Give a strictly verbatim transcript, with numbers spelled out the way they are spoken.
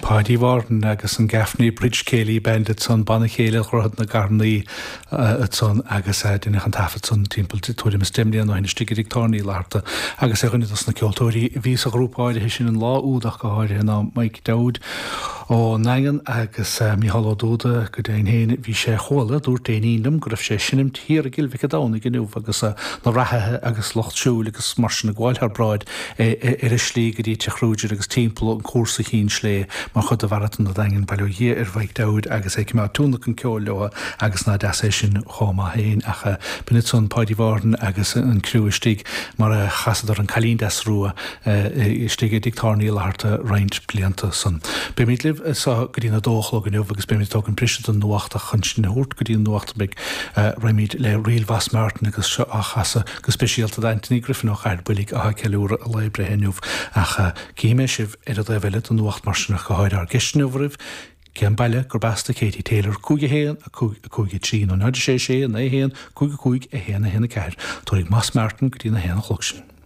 Páidí Mhárthain agus an Gaffney Bridge Céilí Band ansan, Banna Céilí Dhroichead na gCarnaí ansan agus deineadh an taifead san timpeall tuairim is deich mbliana ó shin istigh i dTigh Tábhairne Uí Fhlatharta agus ar dhuine dos na ceoltóirí a bhí sa ghrúpa áirithe sin an lá úd ach go háirithe ná Mike Dowd ón nDaingean agus Mícheál Ó Dúda go deimhin féin bhí sé chuala dúirt éinín liom go raibh sé ag seinmt thiar i gCill Mhic an Domhnaigh inniu agus na reathaithe agus lucht siúil agus mar sin ag gabháil thar bráid ar a slí go dtí Teach Kruger agus timpeall an cúrsa Chinn Slé mar chuid de Mharatón an Daingin. Bail ó Dhia ar Mhike Dowd agus é ag coimeád tionlacan ceoil leo agus ná deas é sin chomh maith féin ach b'in ansan Páidí Mhárthain agus an criú istigh mar a chasadar an Cailín Deas Rua istigh i dTigh Tábhairne Uí Fhlatharta roinnt blianta san. Beimid libh so go dtí a dó a chlog inniu agus beimid ag tógaint briseadh don nuacht ach chun sinn a thabhairt go dtí an nuacht beidh raghaimid le Ríl Mhoss Martin agus seo á chasadh go speisialta d'Anthony Griffin ó Chathair Builg atá ag ceiliúradh a lae breithe inniu ach cífidh mé sibh ar an dtaobh eile den nuacht mar sin ach go háirithe ár gceist inniu oraibh cén baile gurb as do Katie Taylor cúig a haon a cúig a cúig a trí nó náid a sé sé naoi a haon cúig a cúig a haon a haon a ceathair. Tabharfaidh Moss Martin go dtí na haon a chlog sin.